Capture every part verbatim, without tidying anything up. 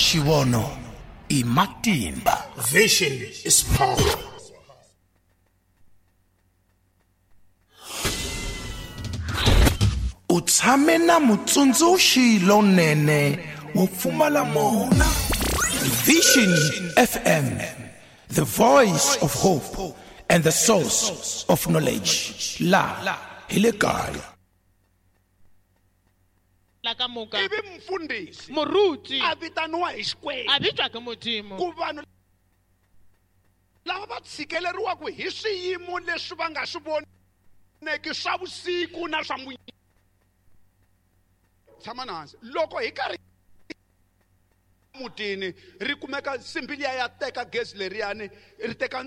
Xivono i matimba. Vision is power. U tshame na mutsundzuxi lonene wo pfumala mona. Vision F M, the voice of hope and the source of knowledge. La hi le kaya. La ka moka. Ivi mfundhisi. Moruti. A vitaniwa hi Xikwembu. A vitswa ke Modimo. Ku vanhu lava va tshikeleriwaka hi swiyimo leswi va nga swi voneki swa vusiku na swa munyama. Tshama na hansi. Loko hi karhi mutini ri kumeka nsimbi liya ya teka gezi leriyani ri teka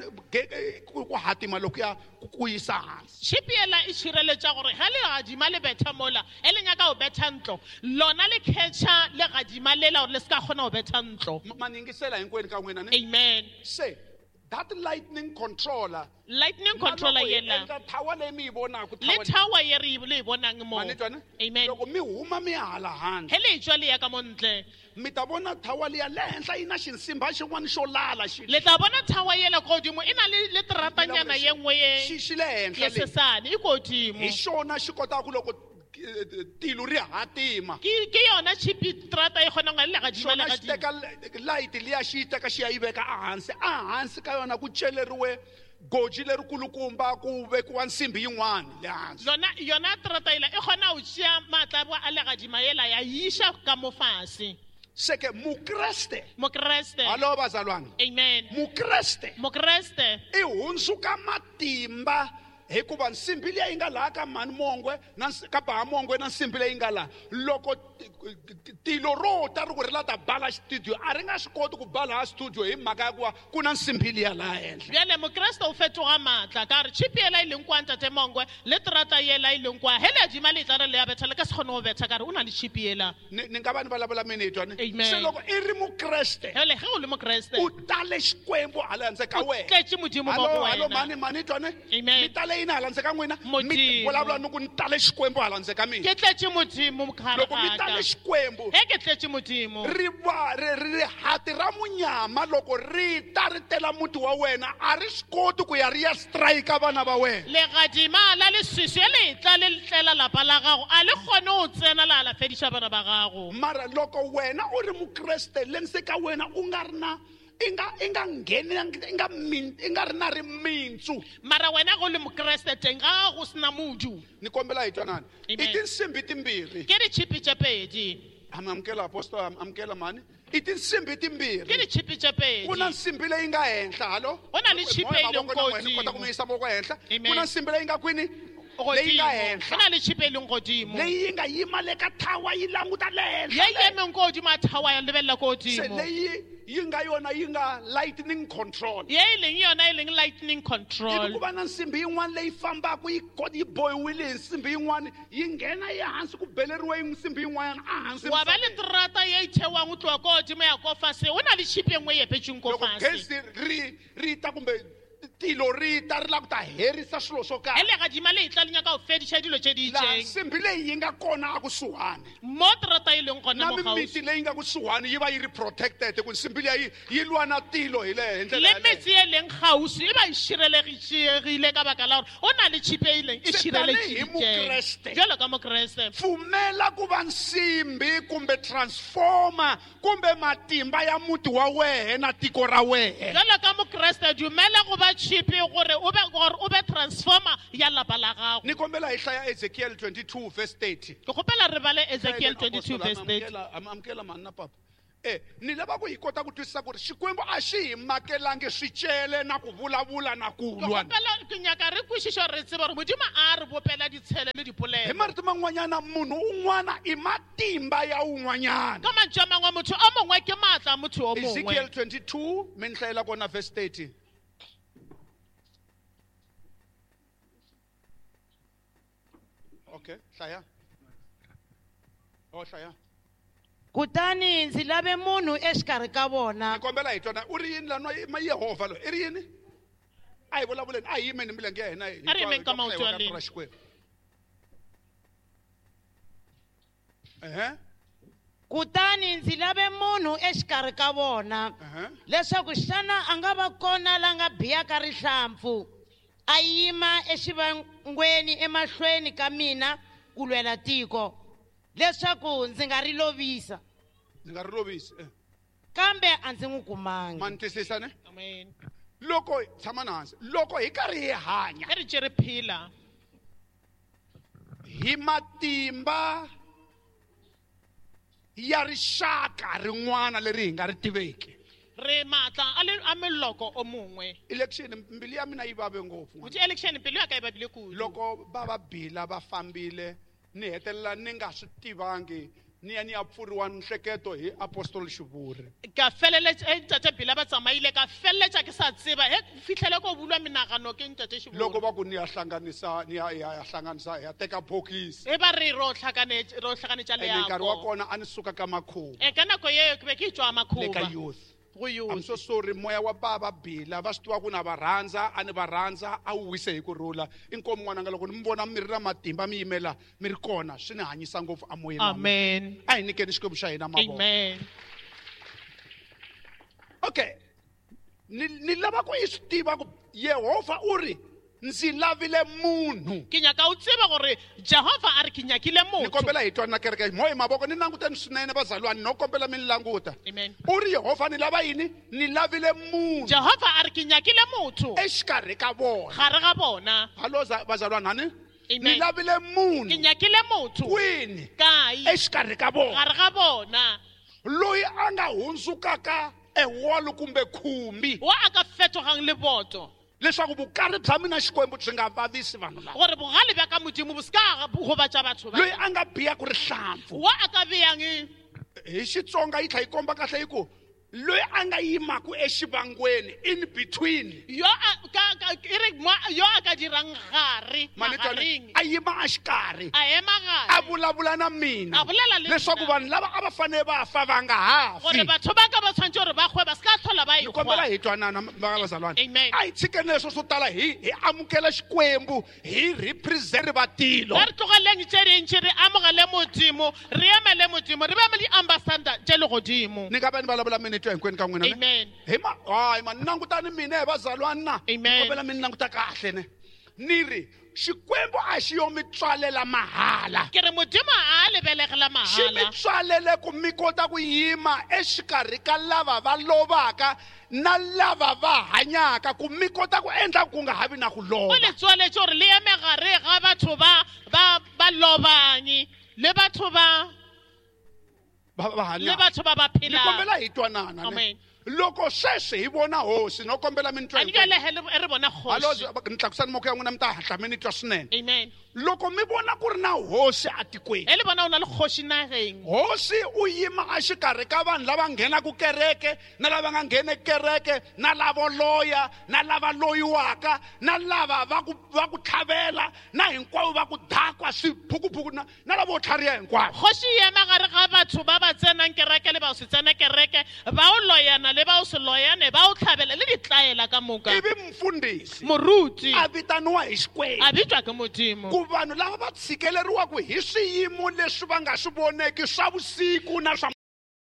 ku hatima loko ya ku yisa hansi. Tšhipi yela e šireletša gore ge legadima le betha mola e le nyaka go betha ntlo lona le catcha legadima lela gore le se ka kgona go betha ntlo. Ma yingisela hinkwenu ka n'wina ne? Amen. Se that lightning controller, lightning controller yela tower leyi mi yi vonaka, le tower ye re le yi vonang mo. Amen. Loko mi huma mi hala handle, he le tswa le ya ka mo ntle, mi ta vona tower liya le henhla yi na xinsimba xin'wana xo lala xi. Le tla vona tower yela kodimo i na le le tratanyana ye nngwe ye xi xi le henhla le sesane i kodimo. Hi xona xi kotaka ku loko tilo ri hatima ke ke yona chipi trata e kgona go le gadima le gadima teka light liya xi teka xi ya yi veka ehansi ehansi ka yona ku celeriwe goji lerikulukumba ku vekiwa nsimbi yin'wana le hansi. Lona yona trata ela e kgona go tšea maatla a le gadima yela ya iša ka mo fase. Seke mukreste mukreste alo bazalwane. Amen. Mukreste mukreste i hundzuka matimba hikuva nsimbi leyi nga laha ka mhani Mongwe na ka Baha Mongwe na nsimbi leyi nga laha loko tilo ro ta ri ku ri la ta bala studio a ri nga swi koti ku bala ha studio hi mhaka ya ku va ku na nsimbi liya laha henhla. Bjale mokreste o fetoga maatla ka re tšhipi yela e leng kwa ntate Mongwe le terata yela e leng kwa he leadima le tla re le ya betha le ka se kgone go betha ka re o na le tšhipi yela. Ni ni nga va ni vulavula mina hi twa ni se loko i ri mukreste hele ge o le mokreste u tale Xikwembu hala handle ka wena u tletše Modimo mo go wena. Alo mani mani twa ni Amen. Mi tale yini hala ndzeni ka n'wina? Mi vulavula ni ku ni tale Xikwembu hala ndzeni ka mina. Ke tletše Modimo mogare Loko mi tale Xikwembu he ke tletše Modimo ri va ri rihati ra munyama loko ri ta ri tela muti wa wena a ri swi koti ku ya ri ya strike vana va wena. Legadima la leswiswi le tla le tlela lapa la gago a le kgone go tsena la la fediša bana ba gago. Mara loko wena u ri mukreste le ndzeni ka wena u nga ri na inga inga ngheni inga min inga ri na rimintsu. Mara wena go le mokreste teng ga go sena modu. Ni kombela hi twanani i tinsimbi timbirhi ke ditšhipi tše pedi. Amukela apostol amukela mani i tinsimbi timbirhi ke ditšhipi tše pedi. Ku na nsimbi leyi nga henhla halo go na le tšhipi e leng kodimo kota ku mi yisa voko henhla. Ku na nsimbi leyi nga kwini leyi nga henhla go na le tšhipi e leng godimo leyi yi nga yima le ka thawa yi languta le henhla ye yemeng kodimo a thawa ya lebelela kodimo se leyi yi nga yona yi nga lightning control ye e leng yona e leng lightning control. Ivi ku va na nsimbi yin'wana leyi fambaka yi yi bohiwile hi nsimbi yin'wana yi nghena ehansi ku beleriwe nsimbi yin'wanyana ehansi wa ba le terata ye e thewang go tloga ko godimo ya ko fase o na le tšhipi e nngwe e epetšweng ko loko fase. Gezi ri ri ta kumbe tilo ri ta ri lava ku ta herisa swilo swo karhi he legadima le tla le nyaka go fediša dilo tše di laha itšeng. Nsimbi leyi yi nga kona akusuhani mo terata e leng gona na mo kgauswi mimiti leyi nga kusuhani yi va yi ri protected ku nsimbi liya yi yi lwa na tilo hi le hi ndlela le yaleyo. metse e leng kgauswi e ba e širelegile ka baka la gore o na le tšhipi e leng e Se tanihi Mukreste. šireleditše jalo ka mokreste. Pfumela ku va nsimbi kumbe transformer kumbe matimba ya muti wa wena na tiko ra wena. Jalo ka mokreste dumela go ba tšhipi gore o be gore o be transformer ya lapa la gago. Ni kombela hi hlaya Ezekiel twenty-two verse thirty. Ke kgopela re bale Ezekiel twenty-two verse thirty. Amukela mani na papa. Eh ni lava ku hi kota ku twisisa ku ri Xikwembu a xi hi makelangi swicele na ku vulavula na ku Ke lwa. kgopela ke nyaka re kwešiša re tsebe gore Modimo a re bopela ditshele le dipolelo. Hi marito man'wanyana munhu un'wana i matimba ya un'wanyana. Ka mantšu a mangwe motho o mongwe ke maatla a motho o mongwe. Ezekiel twenty-two mi ni hlayela kona verse thirty. Okay, hlaya. Oh, hlaya. Kutani ndzi lave munhu exikarhi ka vona. Ni kombela hi twana u ri yini la nwa ma Yehovha loyi i ri yini? A hi vulavuleni a hi yimeni milenge ya hina hi A ri yimeni ka maoto ya lena. Xikwembu. Ehe. Kutani ndzi lave munhu exikarhi ka vona Uh-huh. leswaku xana a nga va kona la nga biyaka rihlampfu a yima exivangweni emahlweni ka mina ku lwela tiko leswaku ndzi nga ri lovisa Ndzi nga ri lovisi. Eh. kambe a ndzi n'wi kumangi Ma ni twisisa ne? Amen. Loko tshama na hansi. Loko hi karhi hi hanya Ge re tše re phela hi matimba ya rixaka rin'wana leri hi nga ri tiveki. Re maatla a le a meloko o mongwe. Election mbilu ya mina yi vave ngopfu. Botse election pelo ya ka e babile kudu. Loko va va bila va fambile ni hetelela ni nga swi tivangi ni ya ni ya pfuriwa nhleketo hi Apostle Xivuri. Ka feleletsa eh, ntate Bila ba tsamaile ka feleletsa ke sa tseba he fitlhele ko bulwa menagano ke ntate Xivuri. Loko va ku ni ya hlanganisa ni ya ya ya hlanganisa ya teka bokisi. E ba re ro tlhakanetsa ro tlhakanetsa Ene nkarhi wa leago. kona a ni suka ka makhuva E ka nako eo ke be ke tswa le ka makhuba youth. go I'm youth. so sorry moya wa baba Bila va swi tiva ku na va rhandza a ni va rhandza a wu wise hi ku rhula. Inkomu n'wananga loko ni mi vona mi ri na matimba mi yimela mi ri kona swi ni hanyisa ngopfu amoyeni wa mina. Amen. A hi nyikeni Xikwembu xa hina mavoko. Amen. Okay. Ni ni lava ku i swi tiva ku Yehovha u ri ndzi lavile munhu. Ke nyaka o tseba gore Jehova a re ke nyakile Ni motho. kombela hi twana kereke mo hi mavoko ni languteni swinene vazalwane no kombela mi ni languta. Amen. U ri Yehovha ni lava yini? Ni lavile munhu Jehova a re ke nyakile motho exikarhi ka vona. gare ga bona. Hallo za- vazalwane hani? Amen. Ni lavile Ke munhu nyakile motho kwini? kae Exikarhi ka vona. gare ga bona. Loyi a nga hundzukaka ewolo kumbe khumbi Wa a ka fetogang leboto. leswaku vukari bya mina Xikwembu byi nga vavisi vanhu lava. Gore bogale bja ka Modimo bo se ka gobatša batho ba. Loyi a nga biyaku rihlampfu. Wa a ka beyang Hi Xitsonga yi tlhela yi komba kahle yi ku loyi a nga yimaku exivangweni in between. yo a ka ka e re mo yo a ka dirang gare Mani twana, magareng. a yima exikarhi. A ema A gare. vulavula na mina. A bolela le Leswaku nna. vanhu lava a va fanele va fa va nga ha Gore fi. batho ba ka ba tshwanetse gore ba kgwe ba se ka tlhola ba Ni kombela ekgwa. hi twanana va vazalwane. Amen. A hi tshikeni leswo swo tala hi hi amukela Xikwembu hi represent vatilo. Ba re tlogeleng tše dintši re amogele Modimo, re emele Modimo, re be le di-ambassador tše legodimo. Ni nga va ni vulavula minete hinkwenu ka n'wina ne? Amen. Hi ma hayi ma ni langutani mina hi vazalwana na. Amen. Ni kombela mi ni languta kahle ne. Ni ri Xikwembu a xi yo mi tswalela mahala. Ke re Modimo a lebelegela Xi mi mahala. tswalele ku mi kota ku yima exikarhi ka lava va lovaka na lava va hanyaka ku mi kota ku endla ku nga ha vi na ku O lova. le tswaletše gore le eme gare ga batho ba ba ba lobang le batho ba Va va le hanyaka. batho ba ba Ni phelang. kombela hi twanana ne. Amen. Loko sweswi hi vona hosi no kombela mi ni twa A ni hinkwenu. bjale he le- re bona Hallo kgoši. ni tlakusani moko ya n'wina mi ta hatla mi ni twa swinene. Amen. Loko mi vona ku ri na hosi atikweni. E le bona o na le kgoši nageng. Hosi u yima exikarhi ka vanhu lava nghenaku kereke na lava nga ngheneki kereke na lavo loya na lava loyiwaka na lava va ku va ku tlhavela na hinkwavo va ku dakwa swiphukuphuku na na lavo tlhariha hinkwavo. Kgoši e ema gare ga batho ba ba tsenang kereke le ba o se tsena kereke, ba o loyana le ba o se loyane, ba o tlhabela le ditlaela ka moka. Ivi mfundhisi Moruti a vitaniwa hi Xikwembu a bitswa ke Modimo. ku vanhu lava va tshikeleriwaka hi swiyimo leswi va nga swi voneki swa vusiku na swa